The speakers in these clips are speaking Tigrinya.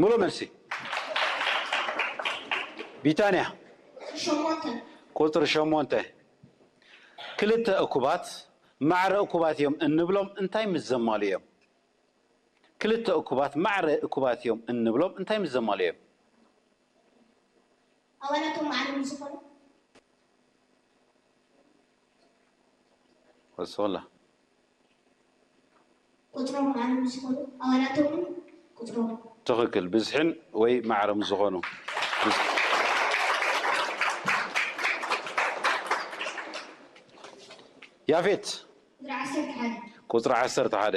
ሙሉእ መልሲ። ቢታንያ። ቁፅሪ ሸሞንተ። ክልተ እኩባት ማዕረ እኩባት እዮም እንብሎም እንታይ ምስ ዘማሉ እዮም? ክልተ እኩባት ማዕረ እኩባት እዮም እንብሎም እንታይ ምስ ዘማሉ እዮም? ኣባላቶም ማዕረ ምስ ዝኾኑ። ወስኸላ። ቁፅሮም ማዕረ ምስ ዝኾኑ ኣባላቶምን ቁፅሮም። ትኽክል። ብዝሕን ወይ ማዕረ ምስ ዝኾኑ። ያፌት። ቁፅሪ ዓሰርተ ሓደ። ቁፅሪ ዓሰርተ ሓደ።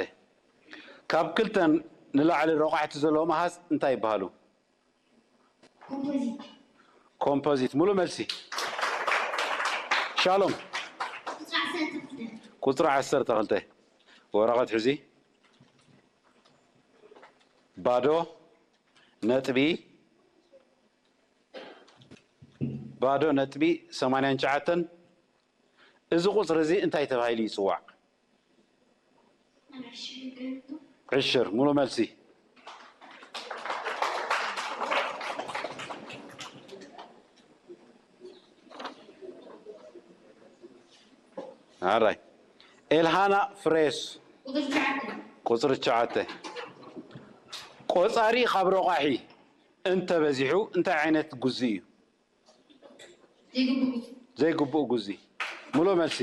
ካብ ክልተ ንላዕሊ ረቋሕቲ ዘለዎም ኣሃዝ እንታይ ይበሃሉ? ኮምፖዚት። ኮምፖዚት። ሙሉእ መልሲ። ሻሎም። ቁፅሪ ዓሰርተ ክልተ። ቁፅሪ ዓሰርተ ክልተ። ወረቐት ሕዚ። ባዶ ነጥቢ፣ ባዶ ነጥቢ ሰማንያን ትሽዓተን። እዚ ቁፅሪ እዚ እንታይ ተባሂሉ ይፅዋዕ? ዕሽር። ሙሉእ መልሲ። ኣራይ። ኤልሃና ፍሬስ። ቁፅሪ ትሽዓተ። ቁፅሪ ትሽዓተ። ቆፃሪ ካብ ረቋሒ እንተበዚሑ እንታይ ዓይነት ጉዚ እዩ? ዘይግቡእ ጉዚ። ዘይግቡእ ጉዚ። ሙሉእ መልሲ።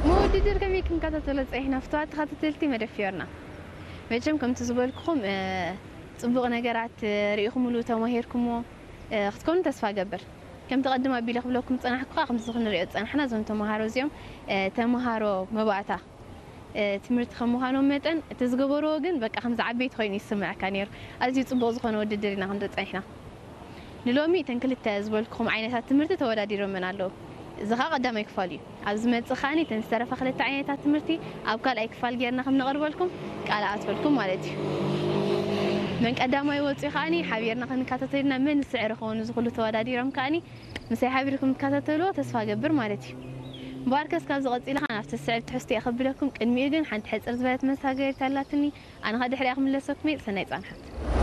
ንውድድር ከመይ ክንከታተሎ ጸኒሕና ፍትዋት ተኸታተልቲ መደብ ፊዮርና? መቸም ከምቲ ዝበልኩኹም፣ እ፣ ጽቡቕ ነገራት፣ እ፣ ርኢኹምሉ ተማሂርኩሞ፣ እ፣ ክትኮኑ ተስፋ እገብር። ከምቲ ቀድም ኣቢለ ክብለኩም ዝጸናሕኩ ከኣ ከምዚ ክንሪኦ ዝጸናሕና እዞም ተማሃሮ እዚኦም፣ እ፣ ተማሃሮ መባእታ፣ እ፣ ትምህርቲ ከም ምዃኖም መጠን እቲ ዝገበርዎ ግን በቃ ከምዚ ዓበይቲ ኮይኑ ይስምዐካ ነይሩ። ኣዝዩ ጽቡቕ ዝኾነ ውድድር ኢና ክንርኢ ጸኒሕና። ንሎሚ እተን ክልተ ዝበልኩኹም ዓይነታት ትምህርቲ ተወዳዲሮመን ኣለዉ። እዚ ኸኣ ቀዳማይ ክፋል እዩ። ኣብ ዝመጽእ ከኣኒ እተን ዝተረፋ ክልተ ዓይነታት ትምህርቲ ኣብ ካልኣይ ክፋል ጌርና ከም ነቕርበልኩም ቃል ኣትወልኩም ማለት እዩ። መን ቀዳማይ ወጺኡ ከኣኒ ሓቢርና ክንከታተልና መን ዝስዕር ይኸውን እዚ ኩሉ ተወዳዲሮም ከኣኒ ምሳይ ሓቢርኩም ትከታተልዎ ተስፋ ገብር ማለት እዩ። እምበኣርከስ ካብዚ ቀጺለ ከኣ ናብቲ ዝስዕብ ትሕዝቶ እየ ከብለኩም። ቅድሚኡ ግን ሓንቲ ሕጽር ዝበለት መሳገሪት ኣላትኒ። ኣነ ኸኣ ድሕሪኣ ክምለሰኩም እየ። ሰናይ ጻንሖት።